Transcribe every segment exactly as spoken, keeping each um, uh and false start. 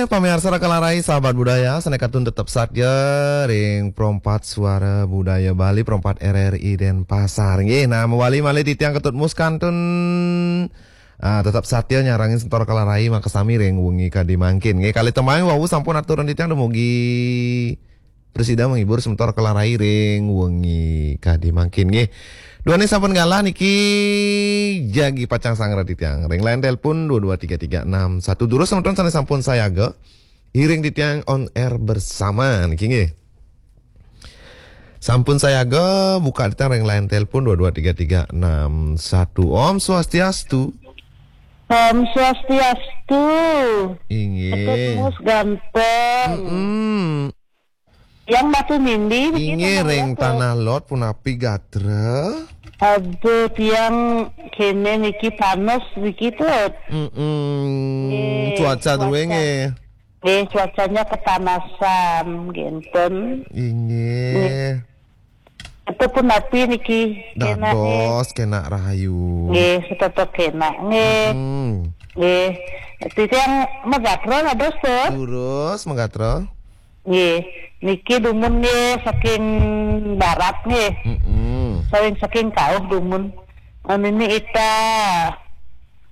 Pamiarsa Raka Larai, sahabat budaya, sané kantun tetep satya ring Pro empat Suara Budaya Bali, Pro empat R R I Denpasar. Nggih, nah, mawali malih titiang Ketut Mus kantun, ah, tetep satya nyarengin semeton Raka Larai makasami ring wengi kadi mangkin. Nggih, kalih tembang wau sampun aturang titiang dumugi prasida menghibur semeton Raka Larai ring wengi kadi mangkin, nggih. Duaning sampun galah niki, jagi pacang sangra titiang ring line telepon dua dua tiga tiga enam satu. Durus semeton sané sampun sayaga, iring titiang on air bersama niki, nggih. Sampun sayaga, buka titiang ring line telepon dua dua tiga tiga enam satu. Om Swastiastu. Om Swastiastu. Inggih. Ketut Mus ganteng. Mm-mm. Tiang Batu Nindi, begitu. Inggih, ring Tanah Lot punapi gatra? Aduh, tiang kéné niki panas niki, Tut. Mm-mm. Nggih, cuaca drué cuaca. Nggih. Nggih, cuacanya kepanasan, ngénten. Inggih. Nggih. Itu punapi niki, kénak, nggih. Dados, kénak rahayu. Nggih, setetek kénak, nggih. Mm-mm. Nggih. Titiang magatra dados, Tut. Durus magatra. Nggih, niki dumun nggih saking barat nggih. Mm-mm. Saking, saking kauh dumun. Nini Ita,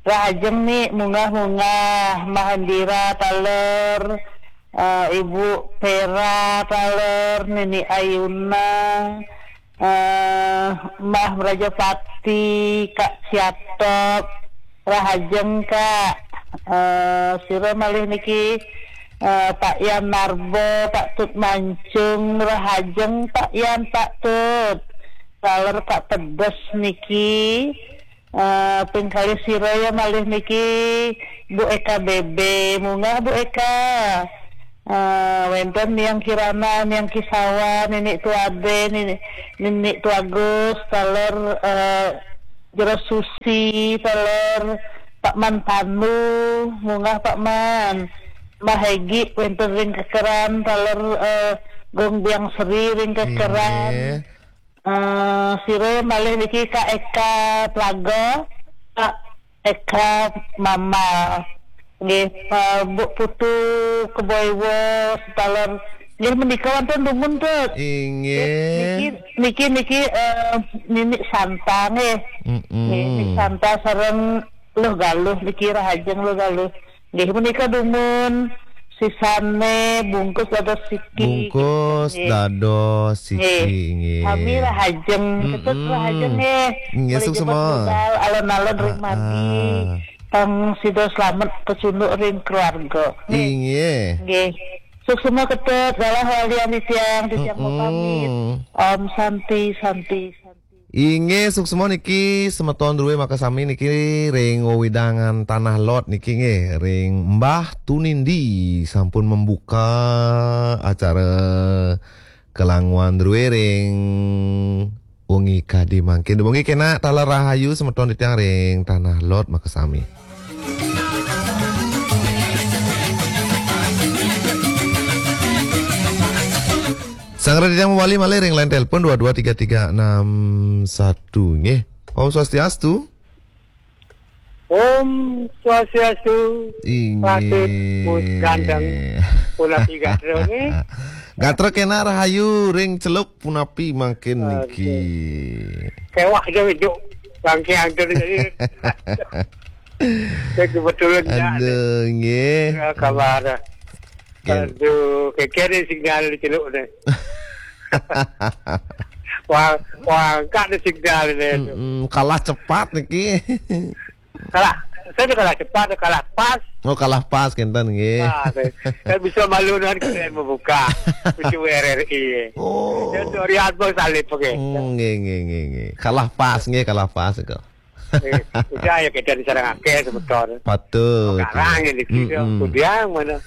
rahajeng Ni, munggah-munggah, Mahendira taler, eh, Ibu Pera taler, Nini Ayuna, eh, Mbah Mrajapati, Kak Siatok, rahajeng, Kak. Eh, sira malih niki, eh, Pak Yan Narbo, Pak Tut Mancung, rahajeng, Pak Yan, Pak Tut. Taler Kak Pedes niki, eh, ping kalih sira ya malih niki, Bu Eka Bebe, munggah Bu Eka. Eh, wénten Niang Kirana, Niang Kisawa, Nini Tuade, Nini, Nini Tuagus, taler, eh, Jero Susi, taler Pak Man Panu, munggah Pak Man. Mbah Hegi, wénten ring Kekeran, taler, eh, Gong Biang Seri ring Kekeran. Inggih. Eh, sira malih niki Kak Eka Plaga, Kak Eka Mamal. Nggih, eh, Bu Putu Keboiwo, taler. Nggih, menika wonten dumun, Tut. Inggih. Niki, niki, niki, eh, Nini Santa, nggih. Mm-mm. Nggih, Nini Santa sareng Luh Galuh niki, rahajeng Luh Galuh. Nggih, menika dumun sisané bungkus dados siki. Bungkus, nggih, dados siki, nggih, nggih. Sami rahajeng, Ketut, mm-mm, rahajeng, nggih. Nggih, suksma. Budal, alon-alon ring, ah, margi. Ah. Pang sida slamet kacunduk ring keluarga. Nggih. Inggih. Nggih. Suksma Ketut, galah walian titiang, titiang, mm-mm, mau pamit. Om Santi, Santi, Santi. Inggih, suksma niki semeton drué makasami niki ring wewidangan Tanah Lot niki nggih, ring Mbah Tunindi sampun membuka acara kelanguan drué ring wengi kadi mangkin. Dumungi kénak taler rahayu semeton titiang ring Tanah Lot makasami. Sang Raditya mawali malih ring line telepon dua dua tiga tiga enam satu nggih. Om Swastiastu. Om Swastiastu. Inggih. Patut pun gandeng punapi gatra nggih. Gatra kénak rahayu ring Celuk punapi mangkin niki. Nggih. Kéweh aja ijuk bangké angker jadi. Saya kebetulan ndak. Aduh, nggih. Ya, kabar. Ken- Aduh, kékén sinyal di Celuk ni. Wah, wah, angkat ni sinyal ni. Mm-mm, kalah cepat niki. Kalah, saya dah kalah cepat, dah kalah pas. Oh, kalah pas, kénten, nggih. Ah, saya, saya bisa malu dengan kalian membuka pintu R R I. Oh. Ya, untuk Riyad pun salib, okey. Hmm, nggih, nggih, nggih, nggih. Kalah pas, nggih, kalah pas kok. Eh, udah ya kita disarang akeh semeton. Patut. Sekarang ini kita, mm-mm, kudiang mana?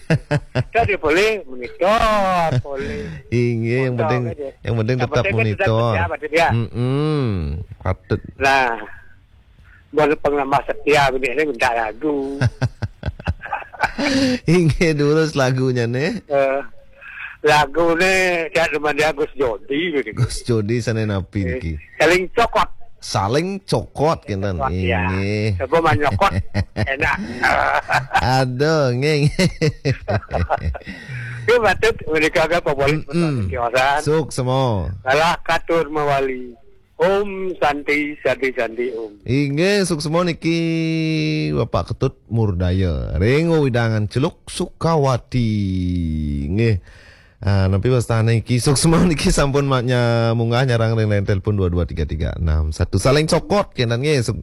Kita dia boleh monitor, boleh. Inggih, yang penting, yang penting tetap monitor. Yang penting kan tetap kerja, Pak Tud, ya. Mm-mm, patut. Nah, buat pengamat setia, ini minta lagu. Inggih, durus lagunya nih. Eh, lagu ni, saya teman dia Gus Jodi, begitu. Gus Jodi sana napi niki. Saling cokot. Saling cokot kinten. Wah, ya. Inggih. Coba manyokot enak. Aduh, nggih. Nggih, patut menika ka pabolit. Mm-mm. Kiosan. Suksma. Kalah katur mawali. Om Santi, Santi, Santi, Om. Inggih, suksma niki Bapak Ketut Murdaya. Ring wewidangan Celuk Sukawati. Nggih. Ah, nampi wastane iki suksma niki sampun maknya munggah nyarang ring line telepon dua dua tiga tiga enam satu. Saling cokot kinten nggih. Suk,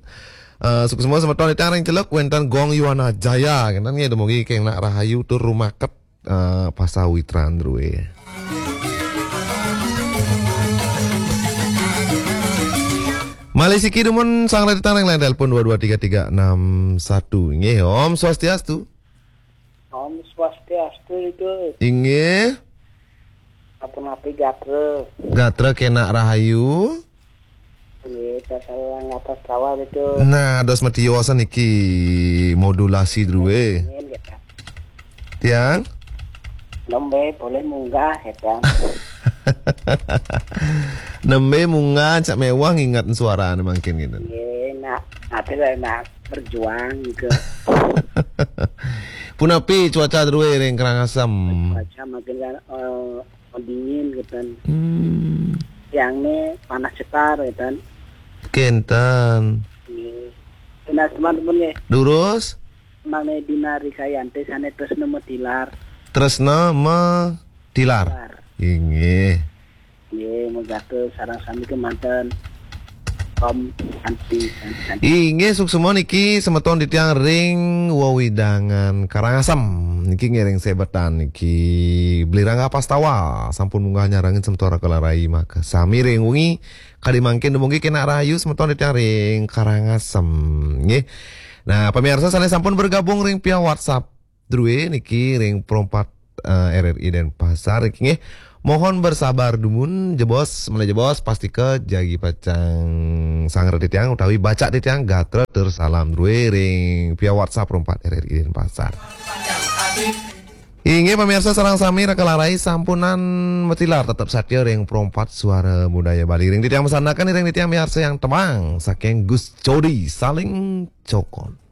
eh, suksma semeton titiang ring Celuk wenten Gong Yuwana Jaya kinten nggih, dumugi kenging rahayu tur rumaket, eh, pasawitran druwe. Malih siki dumun sang titiang ring line telepon dua dua tiga tiga enam satu. Nggih, Om Swastiastu. Om Swastiastu, Gus. Inggih. Sapunapi gatra? Gatra kenging rahayu. Nggih, sasar ngatos kawal itu. Nah, dados matiosan iki modulasi druwe. Nggih, nggih, Pak. Tiang? Nembe boleh munggah ya, Tiang. Nembe munggah cak mewah nginget suarane mangkin gitu. Nggih, nak ate lah nak berjuang gitu. Punapi cuaca druwe ring Karangasem? Cuaca makin kan, eh, dingin gitu kan. Hmm. Tiangne panas cetar gitu kan. Kinten. Nggih. Nah, teman-teman nggih. Durus? Mangke Dina Rikayanti sane tresna metilar. Tresna metilar. Tilar. Inggih. Nggih, megatus sareng sami kemanten. Om Santi, Santi, Santi. Inggih, suksma niki semeton titiang ring wewidangan Karangasem. Niki ngiring sebetan niki Bli Rangga Pastawa sampun munggah nyarengin semeton Raka Larai maka sami ring wengi kadi mangkin dumugi kenging rahayu semeton titiang ring Karangasem nggih. Nah, pemirsa sane sampun bergabung ring via WhatsApp druwe niki ring perempat, eh, R R I Denpasar niki nggih. Mohon bersabar dumun jebos, malih jebos pastika jagi pacang sanggra titiang utawi baca titiang gatra tur salam druwe ring via WhatsApp perempat R R I Denpasar. Inggih pemirsa sareng sami Raka Larai sampunang metilar tetep satia ring perempat Suara Budaya Bali. Ring titiang masandekan ring titiang miarsa yang tembang saking Gus Codi Saling Cokot.